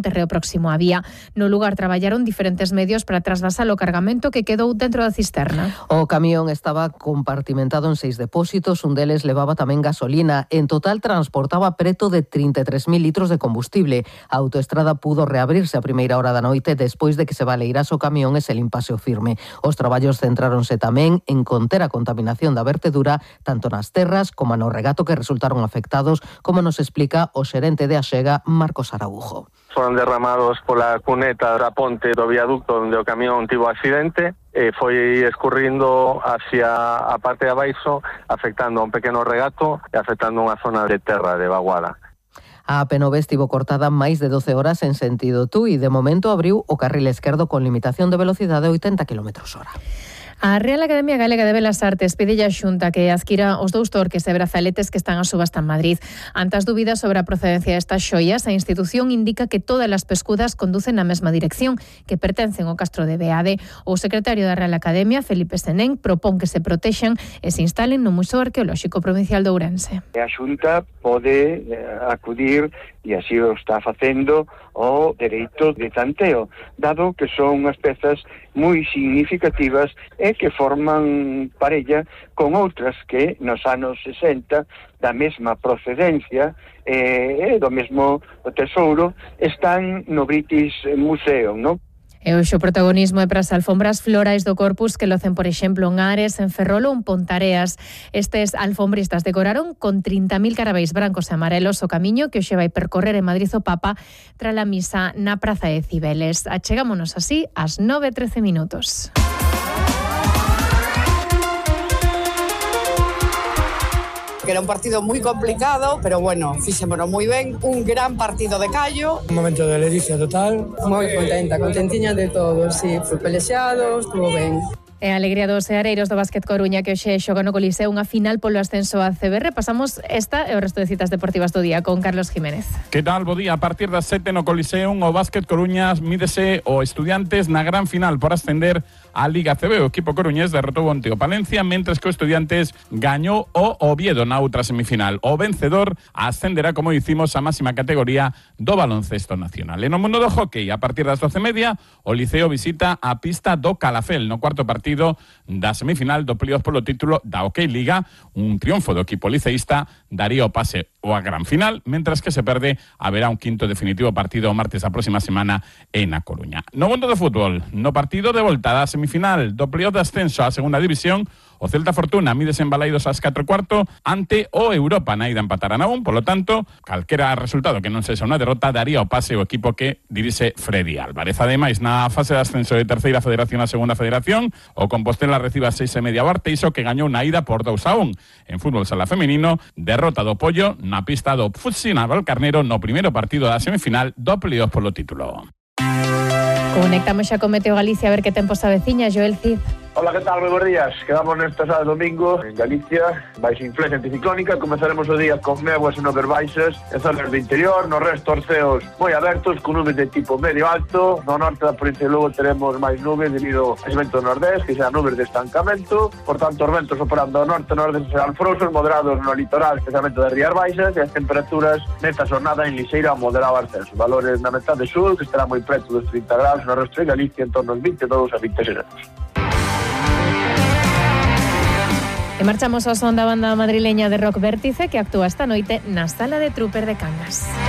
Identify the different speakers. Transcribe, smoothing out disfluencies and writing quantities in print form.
Speaker 1: terreo próximo á vía. No lugar traballaron diferentes medios para trasvasar o cargamento que quedou dentro da cisterna.
Speaker 2: O camión estaba compartimentado en 6 depósitos, un deles levaba tamén gasolina. En total transportaba preto de 33.000 litros de combustible. A autoestrada pudo reabrirse a primeira hora da noite despois de que se baleirase o camión e se limpase o firme. Os traballos centráronse tamén en conter a contaminación da vertedura tanto nas terras como no regato que resultaron afectados, como nos explica o xerente de Axega, Marcos Araujo.
Speaker 3: Foron derramados pola cuneta da ponte do viaducto onde o camión tivo accidente e foi escurrindo hacia a parte de abaixo, afectando a un pequeno regato e afectando unha zona de terra de vaguada.
Speaker 2: A AP9 estivo cortada máis de 12 horas en sentido Tui. De momento abriu o carril esquerdo con limitación de velocidade de 80 km/h.
Speaker 1: A Real Academia Galega de Belas Artes pide a Xunta que adquira os 2 torques e brazaletes que están a subasta en Madrid. Ante as dúbidas sobre a procedencia destas xoias, a institución indica que todas as pescudas conducen na mesma dirección, que pertencen ao Castro de Beade. O secretario da Real Academia, Felipe Senén, propón que se protexan e se instalen no Museo Arqueolóxico Provincial de Ourense.
Speaker 4: A Xunta pode acudir, e así o está facendo, ao dereito de tanteo, dado que son unhas pezas moi significativas e que forman parella con outras que nos anos 60 da mesma procedencia e do mesmo tesouro están no British Museum, non?
Speaker 1: E hoxe o protagonismo é para as alfombras florais do Corpus que locen, por exemplo, en Ares, en Ferrol ou en Pontareas. Estes alfombristas decoraron con 30.000 carabéis brancos e amarelos o camiño que hoxe vai percorrer en Madrid o Papa tras a misa na Praza de Cibeles. Achegámonos así ás 9:13 minutos.
Speaker 5: Que era un partido moi complicado, pero bueno, fixémonos moi ben, un gran partido de callo.
Speaker 6: Un momento de ledicia total.
Speaker 7: Moi contenta, contentiña de todo, sí, foi pelexado, estuvo ben.
Speaker 1: E a alegría dos seareiros do Básquet Coruña que hoxe xoga no Coliseo unha final polo ascenso a CB. Pasamos esta e o resto de citas deportivas do día con Carlos Jiménez.
Speaker 8: Que tal, bo día? A partir das 7 no Coliseo o Básquet Coruña mídese o Estudiantes na gran final por ascender a Liga CB. O equipo coruñés derrotou onte o Palencia, mentres que o Estudiantes gañou o Oviedo na outra semifinal. O vencedor ascenderá, como dicimos, a máxima categoría do baloncesto nacional. E no mundo do hockey, a partir das 12:30, o Liceo visita a pista do Calafel no cuarto partido da semifinal do playoff polo título da Hockey Liga. Un triunfo do equipo liceísta daría o pase a gran final, mentras que se perde haberá un quinto definitivo partido o martes a próxima semana en A Coruña. No mundo do fútbol, no partido de volta da semifinal do playoff de ascenso á segunda división, o Celta Fortuna mídese en Balaidos ás 4:15 ante o Europa na ida empatarán a 1, polo tanto, calquera resultado que non sexa unha derrota daría o pase o equipo que dirixe Freddy Álvarez. Ademais, na fase de ascenso de terceira federación a segunda federación, o Compostela recibe a 6:30 o Arteixo, que gañou na ida por 2-1. En fútbol sala feminino, derrota do Pollo na pista do Futsi Navalcarnero no primeiro partido da semifinal do playoff polo título.
Speaker 1: Conectamos xa con Meteo Galicia a ver que tempo se aveciña, Joel Cid.
Speaker 3: Hola, que tal? Moi bons días. Quedamos nesta sábado domingo en Galicia, baixa influencia anticiclónica. Comezaremos o día con néboas e nubes baixas en zonas do interior, no resto os ceos moi abertos, con nubes de tipo medio alto. No norte da provincia de Lugo teremos máis nubes debido ao vento do nordés, que serán nubes de estancamento. Por tanto, os ventos operando ao norte e nordeste serán frouxos, moderados no litoral, especialmente das rías baixas, e as temperaturas nesta xornada en lixeira a moderado ascenso. Valores na metade sur, que estará moi preto dos 30 graus, no resto de Galicia en torno aos 22 a 26 graus.
Speaker 1: E marchamos ao son da banda madrileña de rock Vértice que actúa esta noite na Sala de Trooper de Cangas.